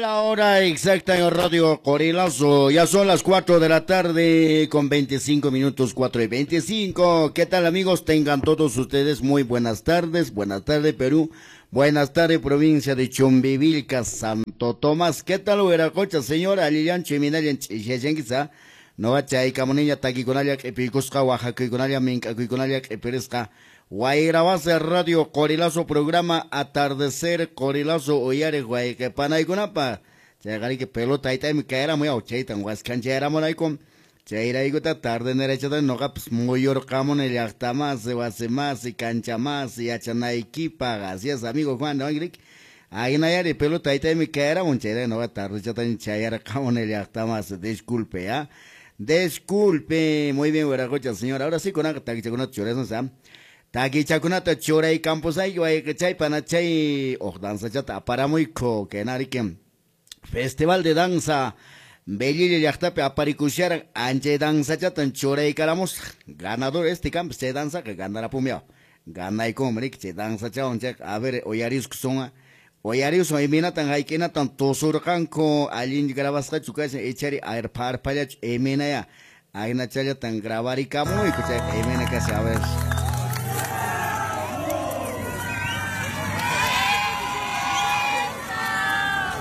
La hora exacta en Radio Qorilazo. Ya son las 4 de la tarde con 25 minutos, 4:25. ¿Qué tal, amigos? Tengan todos ustedes muy buenas tardes. Buenas tardes, Perú. Buenas tardes, provincia de Chumbivilca, Santo Tomás. ¿Qué tal, Huiracocha, señora? Allillanchu, imaynallan ch'isiyashankichis? Nuqa chayaykamuniña takikunalla q'ipiykusqa, waqakuykunalla, mink'akuykunalla q'ipirisqa. Wayrawasi Radio Qorilazo programa Atardecer Qorilazo uyariq wayqe panaykunapaq. Chayqariki pelota hayt'aymi kayaramun yaw, chaytan waskhanchayaramunayku. Chayraykuta tarde nerachata nuqapas muyurqamuni llaqtamasi, wasimasi, kanchamasi, yachanaykipaq. Así es, amigo Juan, ¿no? Ahinayari pelota hayt'aymi kayaramun, chayrayku nuqa tardechataña chayarqamuni llaqtamasi. Disculpe, ¿ya? Disculpe. Muy bien, Huiracocha, señor. Ahora sí, kunanqa takichakunata churasunchis, ¿ah? Takichakunata churaykampusayki wayqichay panachay uq danzachata aparamuyku kenariki Festival de Danza Bellilla llaqtapi aparikusharan anchay danzachatan churaykaramusaq. Ganador este campo chay danzaqa ganarapumyaw. Ganaykunmi riki chay danzachawan chayqa. A ver, uyariskusun, uyarisun imaynatan hayk'inatan tusurqanku allin grabasqachu kashan ichari arpa arpallachu imaynaya ahinachallatan grabarikamuyku chayqa imayna kashan, a ver.